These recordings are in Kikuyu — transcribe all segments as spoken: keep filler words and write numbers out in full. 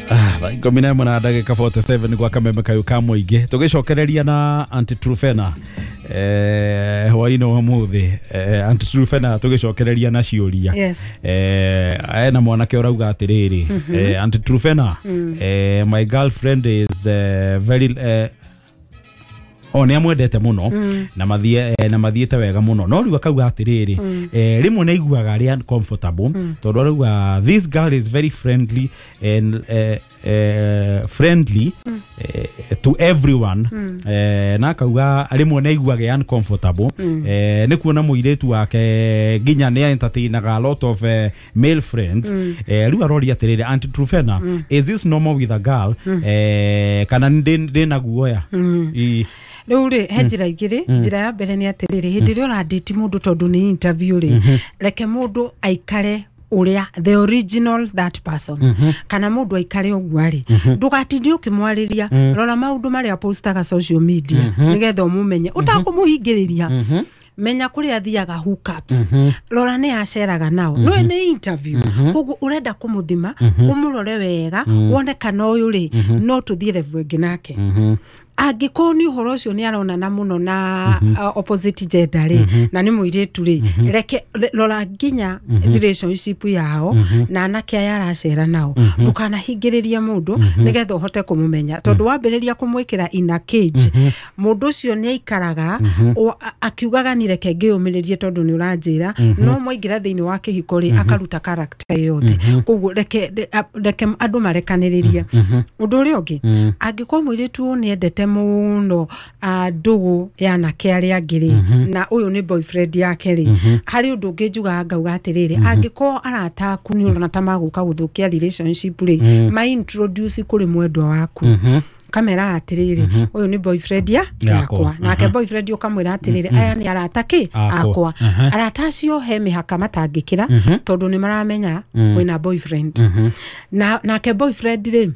Ah, thaa ikũmi na ĩmwe na ndagĩka mĩrongo ĩnana na mũgwanja gwa kameme kayũ ka mũingĩ, tũgĩcokereria na Aunty Trufena eh, hwaĩ-inĩ wa ũmũthĩ. eh, Aunty Trufena, tũgĩcokereria na ciũria. Yes. eh, ena mwanake ũrauga atĩrĩrĩ, eh, "Aunty Trufena, eh, my girlfriend is eh, very eh, o nä amwendete må no na mathie eh, na mathiĩte wega mũno, no rĩu akauga atĩrĩrĩ, eh, rĩmwe nĩ aiguaga arĩ uncomfortable tondũ arauga this girl is very friendly and eh, eh, friendly eh, to everyone, eh, na akauga rĩmwe nĩ aiguaga uncomfortable eh, nĩ kuona mũirĩtu wake nginya nĩ entertainaga a lot of eh, male friends. eh, rĩu aroria atĩrĩrĩ, Aunty Trufena, is this normal with a girl eh, kana ndĩ ndĩ na guoya? Ĩ. Rĩu rĩ, he njĩra igĩrĩ. Njĩra ya mbere nĩ atĩrĩrĩ, hĩndĩ ĩrĩa ũrandĩti mũndũ, tondũ nĩ interview rĩ, reke mũndũ aikare ũrĩa the original that person, kana mũndũ aikare ũguo arĩ, ndũgatinde ũkĩmwarĩria. Rora maũndũ marĩa postaga social media nĩgetha ũmũmenye ũtakũmũhingĩrĩria. Menya kũrĩa athiaga hookups, rora nĩ aceraga nao. No nĩ interview, koguo ũrenda kũmũthima, ũmũrore wega, wone kana ũyũ rĩ, no tũthiĩ level ĩngĩ nake. Angĩkorwo nĩ ũhoro ũcio nĩ aronana mũno na uh, opposite gender rĩ, na nĩ mũirĩtu rĩ, reke re- rora nginya relationship yao na anake aya aracera nao. Ndũkanahingĩrĩrie mũndũ nĩgetha ũhote kũmũmenya, tondũ wambĩrĩria kũmwĩkĩra in a cage, mũndũ ũcio nĩ aikaraga o- a- akiugaga ni reke ngĩyũmĩrĩrie tondũ nĩ ũranjĩra. No mwaingĩra thĩinĩ wa kĩhiko rĩ, akaruta character yothe. Koguo reke re- a- reke andũ marekanĩrĩrie. Ũndũ ũrĩa ũngĩ, angĩkorwo mũirĩtu ũyũ nĩ endete mũno ah, ndũgũ ya anake arĩa angĩ rĩ, na ũyũ nĩ boyfriend yake rĩ, harĩ ũndũ ũngĩ njugaga ngauga atĩrĩrĩ, angĩkorwo arata aku nĩ ũrona ta magũka gũthũkia relationship rĩ, ma introduce kũrĩ mwendwa waku, kamera atĩrĩrĩ, ũyũ nĩ boyfriend ya Yakwa. yakwa. Nake boyfriend ũkamwĩra atĩrĩrĩ, aya nĩ arata kĩ Akwa. akwa. Arata acio he mĩhaka matangĩkĩra tondũ nĩ maramenya wĩna boyfriend. Na nake boyfriend rĩ,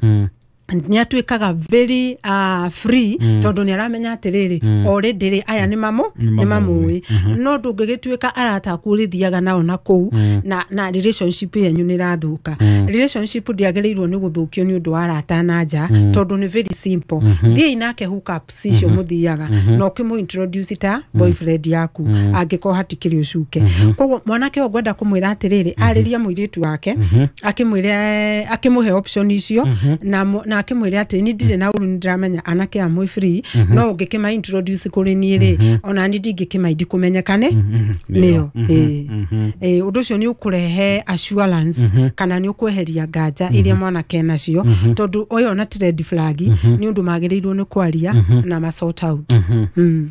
nĩ atuĩkaga very uh, free tondũ nĩ aramenya atĩrĩrĩ, already rĩ, aya nĩ mamũ nĩ mamũĩ. No ndũngĩgĩtuĩka arata aku ũrĩthiaga nao na kũu na, na relationship yanyu nĩ ĩrathũka. Relationship ndĩagĩrĩirwo nĩ gũthũkio nĩ ũndũ wa arata na nja, tondũ nĩ very simple. Thiĩi nake hookups icio mũthiaga na ũkĩmũ introduce ta boyfriend yaku angĩkorwo hatikĩrĩ ũcuke. Koguo mwanake ũyũ ngwenda kũmwĩra atĩrĩrĩ, arĩrie mũirĩtu wake, akĩmwĩre, akĩmũhe option icio, na mo- na akĩmwĩre atĩ ni ndirĩ na ũru, nĩ ndĩramenya anake amwe free, no ũngĩkĩma introduce kũrĩ niĩ rĩ, ona ni ndingĩkĩmaindi kũmenyekane nĩo. Ĩĩ. Ĩĩ, ũndũ ũcio nĩ ũkũrehe assurance kana nĩ ũkweheria nganja iria mwanake nacio, tondũ ũyũ ona ti red flag, nĩ ũndũ magĩrĩirwo nĩ kwaria na ma sort out Mm.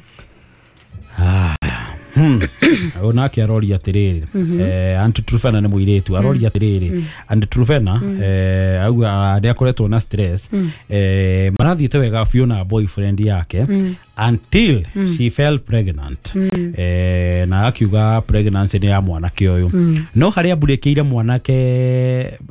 Ũyũ nake aroria atĩrĩrĩ, eh, Aunty Trufena, nĩ mũirĩtu aroria atĩrĩrĩ, Aunty Trufena, eh, auga nĩ akoretwo na stress, eh, marathiĩte wega biũ na boyfriend yake until she fell pregnant, eh, na akiuga pregnancy nĩ ya mwanake ũyũ, no harĩa mbũrĩkĩire mwanake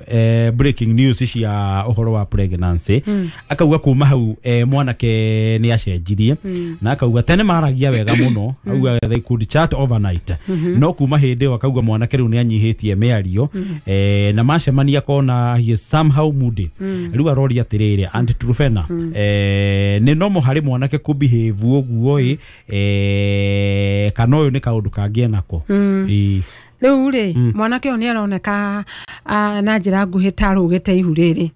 eh, breaking news cia ũhoro wa pregnancy, akauga kuma hau eh, mwanake nĩ acenjirie, na akauga tene maragia wega mũno, auga they could chat overnight, no kuma hĩndĩ ĩyo akauga mwanake rĩu nĩ anyihĩtie mĩario, eh, na macemania kona he is somehow moody. Rĩu aroria atĩrĩrĩ, Aunty Trufena, eh, nĩ normal harĩ mwanake kũ behave ũguo ĩ, eh, kana ũyũ nĩ kaũndũ kangĩ enako? Ĩ. Rĩu rĩ, mwanake ũyũ nĩ aroneka ah, na njĩra nguhĩ ta arũgĩte ihu rĩrĩ,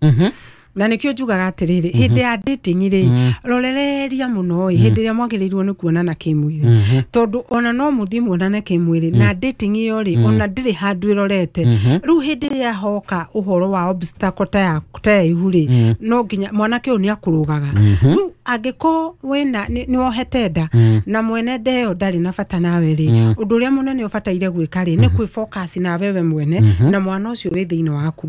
na nĩkĩo njugaga atĩrĩrĩ, hĩndĩ ya dating rĩ, rorereria mũno ĩ hĩndĩ ĩrĩa mwagĩrĩirwo nĩ kuonana kĩmwĩrĩ, tondũ ona no mũthiĩ muonane kĩmwĩrĩ na dating ĩyo rĩ, ona ndĩrĩ handũ ĩrorete. Rĩu hĩndĩ ĩrĩa hoka ũhoro wa obstacle ta ya ta ya ihu rĩ, no nginya mwanake ũyũ nĩ akũrũgaga. Rĩu angĩkorwo wĩna nĩ nĩ wohete nda na mwene nda ĩyo ndarĩ na bata nawe rĩ, ũndũ ũrĩa mũnene ũbataire gwĩka rĩ, nĩ kwĩ focus nawe we mwene na mwana ũcio wĩ thĩinĩ waku,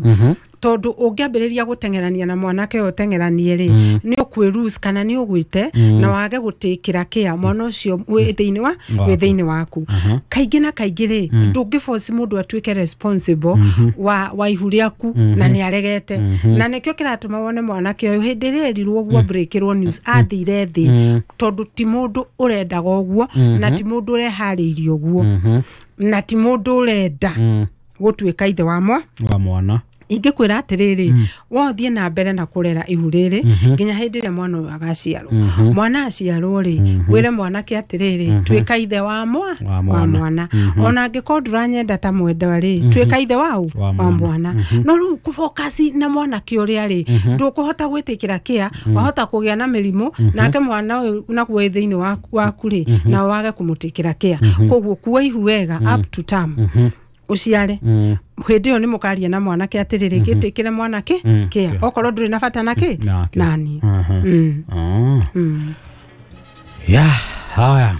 tondũ ũngĩambĩrĩria gũteng'erania na mwanake ũyũ ũteng'eranie rĩ, nĩ ũkwĩ kana nĩ ũgwĩte na wage gũtĩkĩra kĩa mwana ũcio wĩ thĩinĩ wa wĩ thĩinĩ waku. Kaingĩ na kaingĩ rĩ, ndũngĩ force mũndũ atuĩke responsible wa, wa ihu rĩaku na nĩ aregete. Na nĩkĩo kĩratũma wone mwanake ũyũ hĩndĩ ĩrĩa erirwo ũguo, breakĩrwo news, athire thĩ, tondũ ti mũndũ ũrendaga ũguo, na ti mũndũ ũreharĩirie ũguo, na ti mũndũ ũrenda gũtuĩka ithe wa mwa wa mwana. Ingĩkwĩra atĩrĩrĩ, wothiĩ na mbere na kũrera ihu rĩrĩ nginya hĩndĩ ĩrĩa mwana ũyũ agaciarwo. Mwana aciarwo rĩ, wĩre mwanake atĩrĩrĩ, tuĩka ithe wa mwa Wa wa mwana. mwana. Ona angĩkorwo ndũranyenda ta mwendwa rĩ, tuĩka ithe wau Wa wa mwana. mwana. No rĩu kũfocus na mwanake ũrĩa rĩ, ndũkũhota gwĩtĩkĩra kĩa wahota kũgĩa na mĩrimũ, nake mwana ũyũ naguo wĩ thĩinĩ waku waku rĩ, na wage kũmũtĩkĩra kĩa. Koguo kua ihu wega up to term, ũciare. Hĩndĩ ĩyo nĩ mũkaria na mwanake atĩrĩrĩ, gĩtĩkĩre mwanake Mm, kĩa kĩa. Okorwo ndũrĩ na bata nake Nake. nani. Mhm. Mm. Ah. Mm. Ya haya,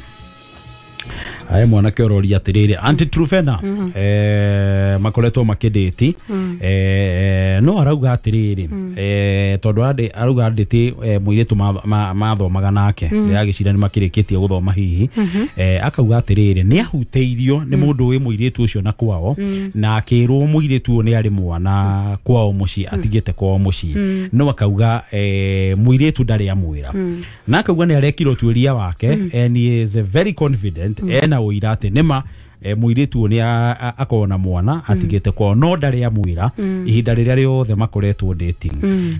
aya mwanake ũroria atĩrĩrĩ, Aunty Trufena, eh, makoretwo makĩndĩti, eh, no arauga atĩrĩrĩ, eh, tondũ ande- arauga andĩti eh, mũirĩtu ma- ma- mathomaga nake, ndĩragĩciria nĩ makĩrĩkĩtie gũthoma hihi. eh, akauga atĩrĩrĩ, nĩ ahutĩirio nĩ mũndũ wĩ mũirĩtu ũcio na kwao, na akĩrwo mũirĩtu ũyũ nĩ arĩ mwana kwao mũciĩ, atigĩte kwao mũciĩ, no akauga eh, mũirĩtu ndarĩ amwĩra, na akauga nĩ arekire ũtuĩria wake and he is very confident, ena ũira atĩ nĩma eh, mũirĩtu ũyũ nĩ a- a- akorwo na mwana atigĩte kwao, no ndarĩ amwĩra ihinda rĩrĩa rĩothe makoretwo dating.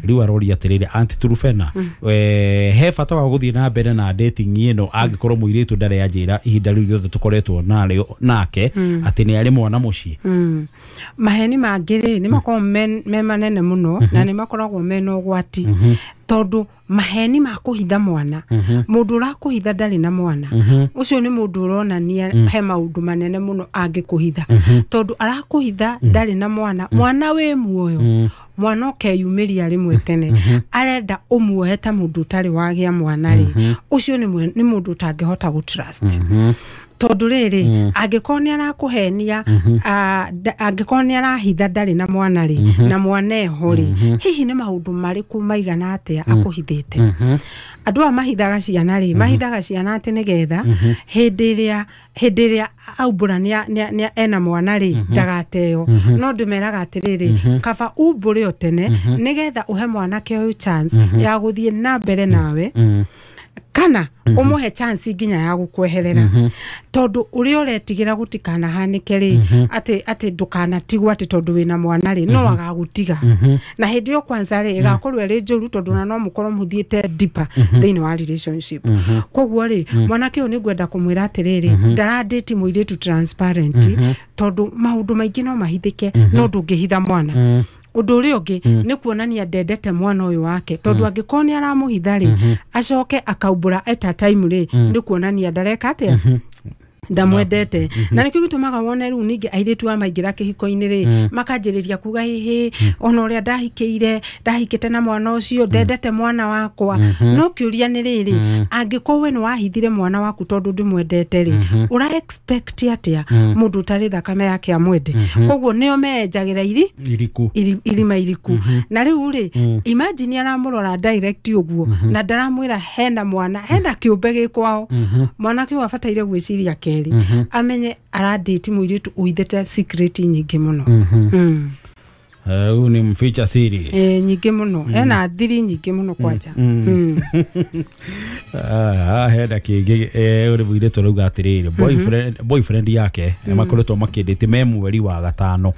Rĩu aroria atĩrĩrĩ, Aunty Trufena, eh, he bata wa gũthiĩ na mbere na dating ĩno angĩkorwo mũirĩtu ndarĩ anjĩra ihinda rĩu rĩothe tũkoretwo narĩo nake atĩ nĩ arĩ mwana mũciĩ? Mm. maheni mangĩ rĩ, nĩ makoragwo me me manene mũno na nĩ makoragwo mena ũgwati, tondũ maheni ma kũhitha mwana, mũndũ ũrakũhitha ndarĩ na mwana, ũcio nĩ mũndũ ũronania he maũndũ manene mũno angĩkũhitha, tondũ arakũhitha ndarĩ na mwana, mwana wĩ muoyo, mwana ũkeyumĩria rĩmwe tene, arenda ũmuohe ta mũndũ ũtarĩ wagĩa mwana rĩ, ũcio nĩ mwe- nĩ mũndũ ũtangĩhota gũ trust, tondũ rĩrĩ, angĩkorwo nĩ arakũhenia, ah, nda- angĩkorwo nĩ arahitha ndarĩ na mwana rĩ, na mwana eho rĩ, hihi nĩ maũndũ marĩkũ maigana atĩa akũhithĩte? Andũ aya mahithaga ciana rĩ, mahithaga ciana atĩ nĩgetha hĩndĩ ĩrĩa hĩndĩ ĩrĩa aumbũra nĩa- nĩa- nĩa- ena mwana rĩ, ndagateo. No ndĩmeraga atĩrĩrĩ, kaba umbũre o tene nĩgetha ũhe mwanake ũyũ chance ya gũthiĩ na mbere nawe, kana ũmũhe chance nginya ya gũkweherera, tondũ ũrĩa ũretigĩra gũtikanahanĩke rĩ, atĩ atĩ ndũkanatigwo atĩ tondũ wĩna mwana rĩ, no agagũtiga, na hĩndĩ ĩyo kwanza rĩ, ĩgakorwo ĩrĩ njũru, tondũ ona no mũkorwo mũthiĩte deeper thĩinĩ wa relationship. Koguo rĩ, mwanake ũyũ nĩ ngwenda kũmwĩra atĩrĩrĩ, ndarandĩti mũirĩtu transparent, tondũ maũndũ maingĩ no mahithĩke, no ndũngĩhitha mwana. Ũndũ ũrĩa ũngĩ nĩ kuonania ndendete mwana ũyũ wake, tondũ angĩkorwo nĩ aramũhitha rĩ, acoke akaumbũra at a time rĩ, nĩ kuonania ndareka atĩa, ndamwendete. Na nĩkĩo gĩtũmaga wone rĩu ningĩ airĩtu a maingĩra kĩhiko-inĩ rĩ, makanjĩrĩria kuga, hĩhĩ, ona ũrĩa ndahikĩire, ndahikĩte na mwana ũcio, ndendete mwana wakwa. No kĩũria nĩ rĩrĩ, angĩkorwo we nĩ wahithire mwana waku tondũ ndũmwendete rĩ, ũra expect atĩa mũndũ ũtarĩ thakame yake amwende? Koguo nĩo meenjagĩra iri iriku. iri- irima iriku. Na rĩu rĩ, imagine aramũrora direct ũguo na ndaramwĩra hena mwana, hena kĩũmbe gĩ kwao. Mwanake ũyũ abataire gwĩciria kerĩ, amenye arandĩti mũirĩtu ũhithĩte secret nyingĩ mũno. Mm. Huyu ni mficha siri. Eh, nyingĩ mũno, ena thiri nyingĩ mũno kwanja. Mm. Ah, hena kĩngĩ, eh, ũrĩ mũirĩtu ũrauga atĩrĩrĩ, boyfriend boyfriend yake makoretwo makĩndĩte me mweri wa gatano,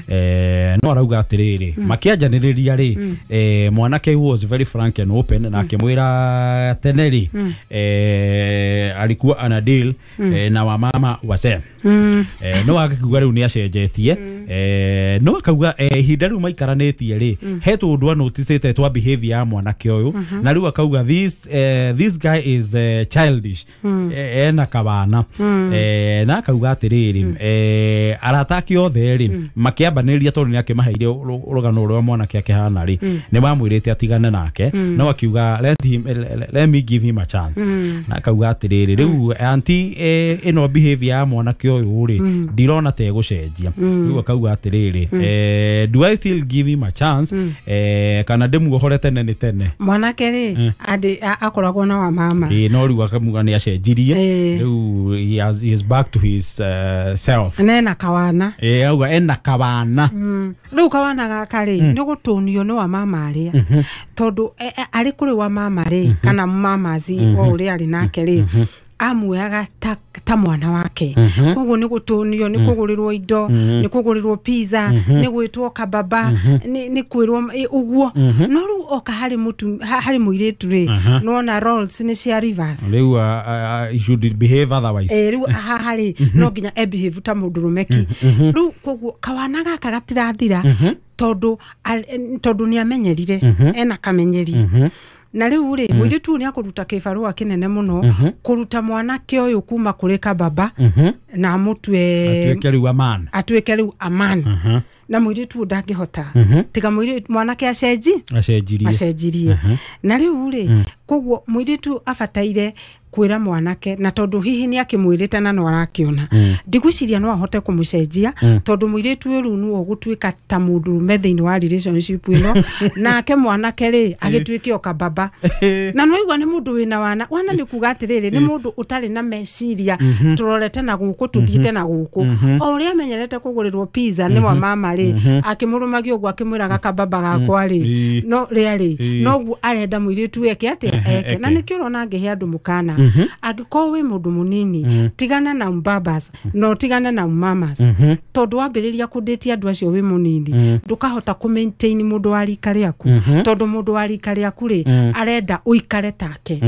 eh, no arauga atĩrĩrĩ, makĩanjanĩrĩria rĩ, eh, mwanake was very frank and open, na akĩmwĩra tene rĩ, eh, alikuwa ana deal eh, na wamama wazee. Mm. eh, no akakiuga rĩu nĩ acenjetie, eh, no akauga eh, ihinda rĩu maikaranĩtie rĩ, he tũndũ anoticĩte twa behavior ya mwanake ũyũ, na rĩu akauga this, eh, this guy is eh, childish, eh, ena kawana, eh, na akauga atĩrĩrĩ, eh, arata ake othe rĩ, makĩambanĩrĩria, tondũ nĩ akĩmaheire rũ- rũgano rũrĩa mwanake akĩhana rĩ, nĩ mamwĩrĩte atigane nake, no akiuga let, him, let, let me give him a chance. Na akauga atĩrĩrĩ, rĩu anti eh, ĩno behavior ya mwanake ũyũ rĩ, ndirona ta ĩgũcenjia. Rĩu akauga atĩrĩrĩ, eh, do I still give him a chance, eh, kana ndĩmuohore tene nĩ tene? Mwanake rĩ, andĩ a- akoragwo na wa mama. Ĩĩ, no rĩu akamuga nĩ acenjirie. Ĩĩ. Rĩu he, has, he is back to his uh, self. Na ena kawana. Ĩĩ, auga ena kawana. Mm. Rĩu kawana gaka rĩ, nĩ gũtũnio nĩ wa mama arĩa, tondũ e- e- arĩ kũrĩ wa mama rĩ, kana mamazi o ũrĩa arĩ nake rĩ, Amuoyaga ta, ta mwana wake. Koguo nĩ gũtũnio, nĩ kũgũrĩrwo indo, nĩ kũgũrĩrwo pizza, nĩ gwĩtwo kababa, nĩ nĩ kwĩrwo ĩ, ũguo. No rĩu oka harĩ mũtu ha- harĩ mũirĩtu rĩ, nĩwona roles nĩ cia reverse. Rĩu uh, uh, you should behave otherwise. Eh, rĩu haha rĩ no nginya e behave ta mũndũrũme ki. Rĩu koguo kawana gaka gatirathira tondũ al- tondũ nĩ amenyerire, ena kamenyeri. Na rĩu rĩ, mũirĩtu ũyũ nĩ akũruta kĩbarũa kĩnene mũno kũruta mwanake ũyũ kuma kũrĩ kababa na amũtue atuĩke rĩu a man. Atuĩke rĩu a man. Na mũirĩtu ũyũ ndangĩhota tiga mũirĩtu mwanake acenji acenjirie. Acenjirie. Na rĩu rĩ, koguo mũirĩtu abataire kwĩra mwanake, na tondũ hihi nĩ akĩmwĩrĩte na no arakĩona, ndigwĩciria no ahote kũmũcenjia, tondũ mũirĩtu ũyũ rĩu nĩwe ũgũtuĩka ta mũndũrũme thĩinĩ wa relationship ĩno, nake mwanake rĩ agĩtuĩke o kababa. Na nĩwaigua nĩ mũndũ wĩna wana. Wana nĩ kuga atĩrĩrĩ, nĩ mũndũ ũtarĩ na meciria tũrorete na gũkũ tũthiĩte na gũkũ. O ũrĩa amenyerete kũgũrĩrwo pizza nĩ wa mama rĩ, akĩmũrũmagia ũguo akĩmwĩraga kababa gakwa rĩ, Ĩ. no rĩa rĩ, Ĩ. noguo arenda mũirĩtu eke atĩa? Eke. Na eke. nĩkĩo ũrona ngĩhe andũ mũkana, angĩkorwo wĩ mũndũ mũnini, tigana na mbabas na ũtigane na mamas, tondũ wambĩrĩria kũndĩtia andũ acio wĩ mũnini, ndũkahota kũ maintain mũndũ wa rika rĩaku, tondũ mũndũ wa rika rĩaku rĩ arenda ũikare take,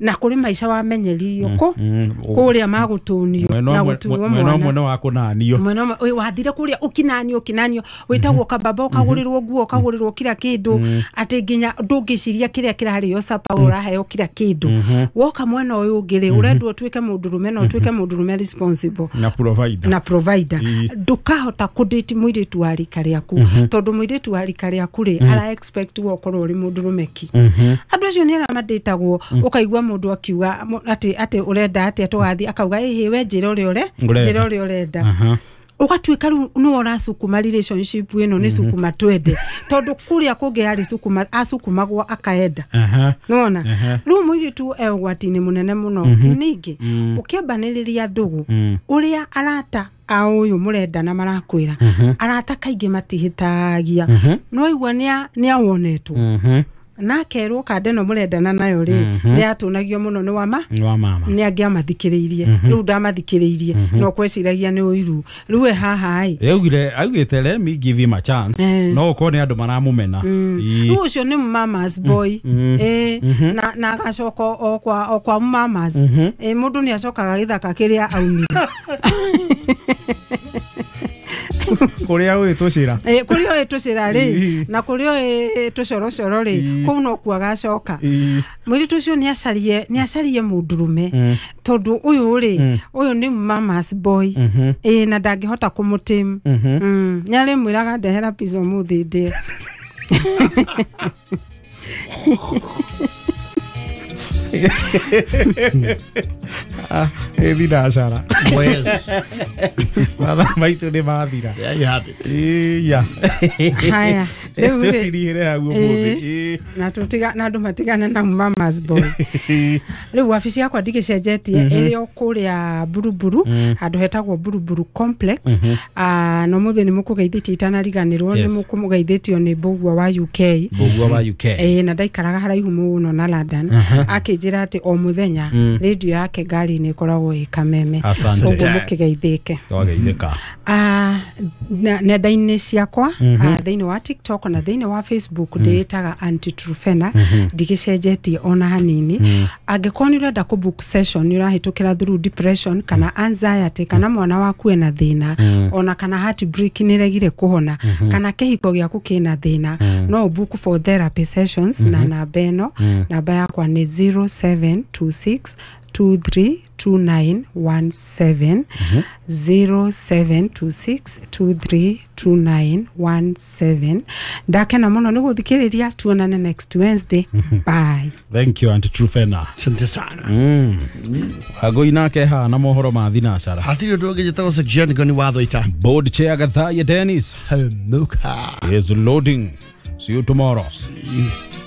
na kũrĩ maica wamenyeririo kũ kũrĩa magũtũnio mwena na ũmwe gũtuo mwena mwana. Ũmwe nĩ wa kũnanio. Mwena ũmwe ĩ, wathire kũrĩa ũkinanio ũkinanio, wĩtagwo kababa, ũkagũrĩrwo nguo, ũkagũrĩrwo kila kĩndũ, atĩ nginya ndũngĩciria kĩrĩa kĩrarĩo capa, ũraheo kila kĩndũ. Woka mwena ũyũ ũngĩ rĩ, ũrendwo ũtuĩke mũndũrũme na ũtuĩke mũndũrũme responsible na provider. Na provider. Ĩ. Ndũkahota kũdate mũirĩtu wa rika rĩaku, tondũ mũirĩtu wa rika rĩaku rĩ ara expect we ũkorwo ũrĩ mũndũrũme ki. Andũ acio nĩ arĩa mandĩtagwo, ũkaigua mũndũ akiuga mo- atĩ atĩ ũrenda atĩa tũgathiĩ, akauga ĩhĩ, we njĩra ũrĩa ũre Ũrenda. njĩra ũrĩa ũrenda. Aha. Ũgatuĩka rĩu nĩwe ũracukuma relationship ĩno, nĩ cukuma twende, tondũ kũrĩa kũngĩ yarĩ cukuma, acukumagwo akaenda. Aha. Nona Aha. rĩu mũirĩtu e ũgwati-inĩ mũnene mũno. Ningĩ ũkĩambanĩrĩria ndũgũ, ũrĩa arata a ũyũ mũrendana marakwĩra, arata kaingĩ matihĩtagia, no igua nĩ awonetwo Mhm. na akerwo kanda ĩno mũrendana nayo rĩ nĩ yatũnagio mũno nĩ wama Nĩ wa mama. Nĩ angĩamathikĩrĩirie, rĩu ndamathikĩrĩirie, no kweciragia nĩ ũiru. Rĩu e haha ĩ. Augire augĩte, "Let me give him a chance." Eh. No ũkorwo nĩ andũ maramũmena. Ĩ. Rĩu ũcio nĩ mamas boy. Ĩ, na na agacoka o kwa o kwa mamas. Ĩ, mũndũ nĩ acokaga gĩthaka kĩrĩa aumire. Kũrĩa ũĩ tũcĩra. Ĩ, kũrĩa ũĩ tũcĩra rĩ, Ĩ. na kũrĩa ũĩ tũcorocoro rĩ, Ĩ. kũu nokuo agacoka. Ĩ. Mũirĩtu ũcio nĩ acarie nĩ acarie mũndũrũme, tondũ ũyũ rĩ, ũyũ nĩ mamas boy. Ĩ, na ndangĩhota kũmũtĩmu. Nĩ arĩmwĩraga ndehera pizza ũmũthĩ ndĩe. Ĩ thinacara. Well, mathaa maitũ nĩ mathira. There you have it. Iya. Haya, rĩu rĩ tũtirihĩre hau ũmũthĩ. Ĩ, na tũtiga na andũ matigane na mamas boy. Rĩu wabici yakwa ndigĩcenjetie, ĩrĩ o kũrĩa Buruburu, handũ hetagwo Buruburu Complex. Ah, na ũmũthĩ nĩ mũkũgeithĩtio, itanariganĩrwo nĩ Yes. mũkũgeithĩtio nĩ Mbũgua wa U K. Mbũgua wa U K. Ĩĩ, na ndaikaraga haraihu mũno na London, akĩnjĩra atĩ o mũthenya rĩndiũ yake ngari-inĩ ĩkoragwo ĩ Kameme. Asante. Ũguo mũkĩgeithĩke. Twageithĩka. Ah, na- nenda-inĩ ciakwa, ah, thĩinĩ wa TikTok na thĩinĩ wa Facebook, ndĩĩtaga Aunty Truphena, ndigĩcenjetie ona hanini. Angĩkorwo nĩ ũrenda kũ book session, nĩ ũrahĩtũkĩra through depression kana anxiety, kana mwana waku ena thĩna, ona kana heartbreak nĩ ĩregire kũhona, kana kĩhiko gĩaku kĩna thĩna, no ũ book for therapy sessions na namba ĩno. Namba yakwa nĩ zero seven two six two three two nine one seven, zero seven two six two three two nine one seven. Ndakena mũno nĩ gũthikĩrĩria, tuonane next Wednesday. Bye. Thank you, Aunty Truphena. Asante sana. Agoi nake haha na mohoro ma thinacara. Hatirĩ ũndũ ũngĩ, njĩtagwo Section Ngoni wa Thwaita. Board chair Gathaya Dennis Hemuka. is loading. See you tomorrow. See you.